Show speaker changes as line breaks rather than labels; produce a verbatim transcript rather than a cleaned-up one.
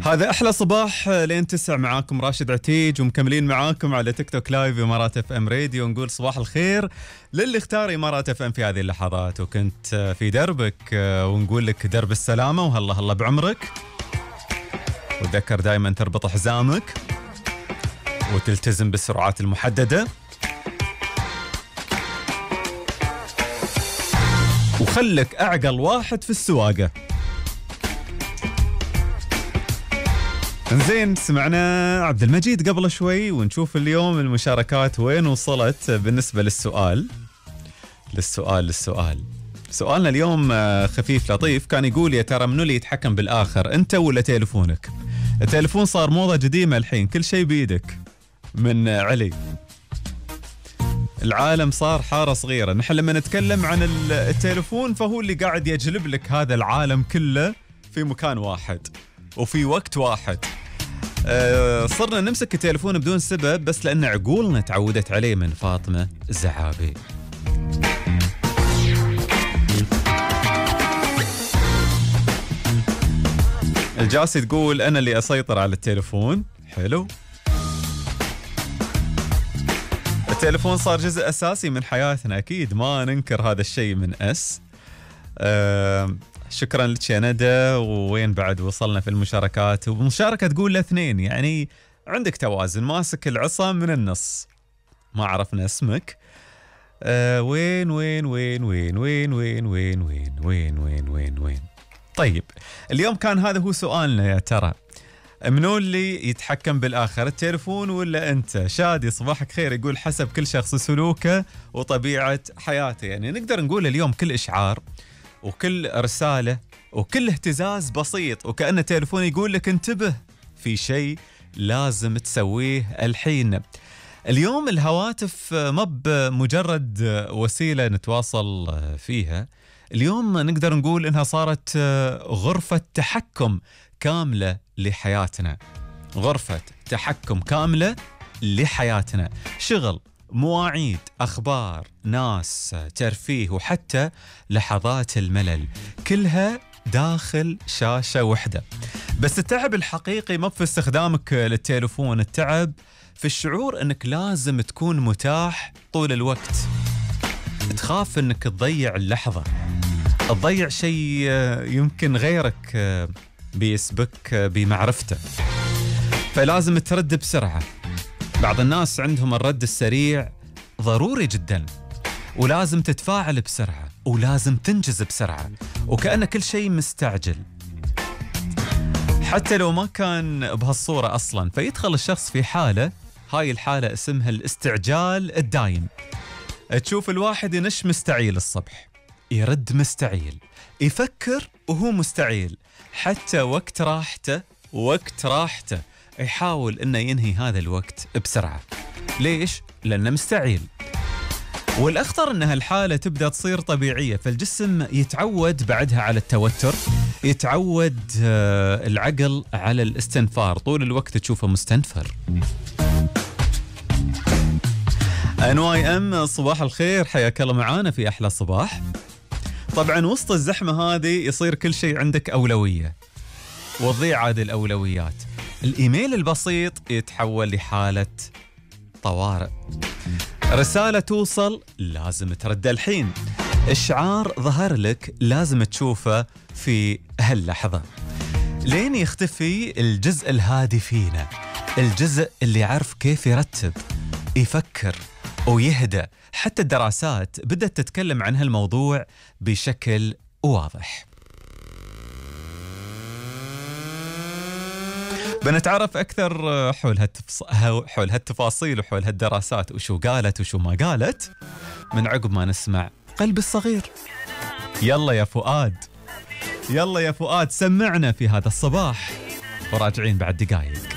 هذا أحلى صباح لين تسع، معاكم راشد عتيج ومكملين معاكم على تيك توك لايف إمارات اف ام راديو. نقول صباح الخير للي اختار إمارات اف ام في هذه اللحظات وكنت في دربك، ونقول لك درب السلامة وهلا هلا بعمرك، وتذكر دائما تربط حزامك وتلتزم بالسرعات المحددة، وخلك أعقل واحد في السواقة. زين، سمعنا عبد المجيد قبل شوي، ونشوف اليوم المشاركات وين وصلت بالنسبة للسؤال للسؤال للسؤال سؤالنا اليوم خفيف لطيف، كان يقول يا ترى منو اللي يتحكم بالآخر، أنت ولا تليفونك؟ التليفون صار موضة قديمة الحين، كل شيء بيدك. من علي. العالم صار حارة صغيرة، نحن لما نتكلم عن التليفون فهو اللي قاعد يجلب لك هذا العالم كله في مكان واحد وفي وقت واحد. أه صرنا نمسك التليفون بدون سبب بس لأن عقولنا تعودت عليه. من فاطمة الزعابي. الجاسي تقول أنا اللي أسيطر على التليفون. حلو، التليفون صار جزء أساسي من حياتنا، أكيد ما ننكر هذا الشيء. من أس أه شكرا لك يا ندى. ووين بعد وصلنا في المشاركات؟ ومشاركة تقول لاثنين، يعني عندك توازن، ماسك العصا من النص. ما عرفنا اسمك. أه وين وين وين وين وين وين وين وين وين وين وين وين طيب، اليوم كان هذا هو سؤالنا، يا ترى منو اللي يتحكم بالآخر، التليفون ولا أنت؟ شادي صباحك خير يقول حسب كل شخص سلوكه وطبيعة حياته. يعني نقدر نقول اليوم كل إشعار وكل رسالة وكل اهتزاز بسيط وكأن التليفون يقول لك انتبه، في شيء لازم تسويه الحين. اليوم الهواتف ما بمجرد وسيلة نتواصل فيها، اليوم نقدر نقول إنها صارت غرفة تحكم كاملة لحياتنا. غرفة تحكم كاملة لحياتنا، شغل، مواعيد، أخبار، ناس، ترفيه، وحتى لحظات الملل، كلها داخل شاشة واحدة. بس التعب الحقيقي ما في استخدامك للتليفون، التعب في الشعور أنك لازم تكون متاح طول الوقت. تخاف أنك تضيع اللحظة، تضيع شيء يمكن غيرك بيسبك بمعرفته، فلازم ترد بسرعة. بعض الناس عندهم الرد السريع ضروري جدا، ولازم تتفاعل بسرعة ولازم تنجز بسرعة، وكأن كل شيء مستعجل حتى لو ما كان بهالصورة أصلا. فيدخل الشخص في حالة، هاي الحالة اسمها الاستعجال الدايم. تشوف الواحد ينش مستعيل الصبح، يرد مستعيل، يفكر وهو مستعيل، حتى وقت راحته وقت راحته يحاول انه ينهي هذا الوقت بسرعة. ليش؟ لأنه مستعيل. والأخطر أن هالحالة تبدأ تصير طبيعية، فالجسم يتعود بعدها على التوتر، يتعود العقل على الاستنفار، طول الوقت تشوفه مستنفر. ان واي ام صباح الخير، حياك الله معانا في أحلى صباح. طبعا وسط الزحمة هذه يصير كل شيء عندك أولوية، وتضيع هذه الأولويات. الإيميل البسيط يتحول لحالة طوارئ، رسالة توصل لازم ترد الحين، إشعار ظهر لك لازم تشوفه في هاللحظة، لين يختفي الجزء الهادي فينا، الجزء اللي يعرف كيف يرتب، يفكر ويهدأ. حتى الدراسات بدأت تتكلم عن هالموضوع بشكل واضح. بنتعرف أكثر حول هالتفص... حول هالتفاصيل وحول هالدراسات، وشو قالت وشو ما قالت، من عقب ما نسمع قلبي الصغير. يلا يا فؤاد، يلا يا فؤاد سمعنا في هذا الصباح، وراجعين بعد دقايق.